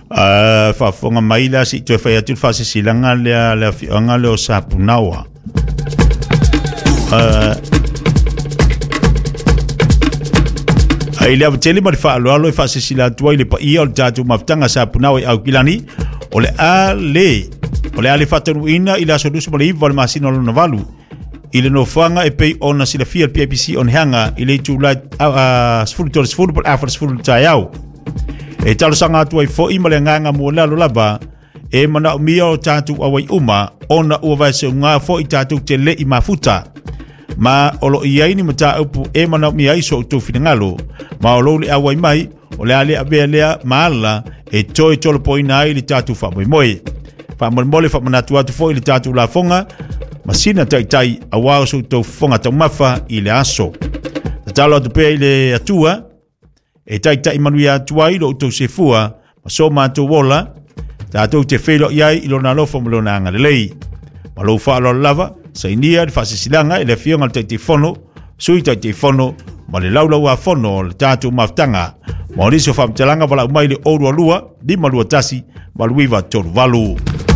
Faafofoga mai la se i toe fai atu le faasilasilaga lea a le afioaga lea o Sapunaoa. Ai le avatele ma le faaaloalo e faasilasila atu ai le paia o le tatou mafutaga Sapunaoa i Aukilani, o le a le o le a le faataunuuina i le aso 29 o le masina o lona valu i le nofoaga e pei ona silafia le PIPC Onehanga i le itula 13:30 po o le 4:40 i le taeao. E talosaga atu ai foi ma le agaga mualalo lava e manaomia o tatou auai uma ona ua vaeseuga foi tatou te le i mafuta. Ma o lo o i ai ni mataupu e manaomia ai so outou finagalo, ma o lou le auai mai o le a le avea lea ma ala e toe tolopoina ai le tatou faamoemoe. Faamolemole faamanatu atu foi le tatou lafoga ma sina taitai aua o so outou fofoga taumafa i le aso. Tatalo atu pea i le Atua e taitai manuia atu ai lo outou sefua ma so matou ola, tatou te feiloai ai i lona alofa ma lona agalelei. Ma lou faaaloalo lava, sainia le faasilasilaga e le Afioga i le Taitaifono, Sui Taitaifono ma le Laulauafono o le tatou mafutaga. Mo nisi o faamatalaga, valaau mai i le 022 521 8938.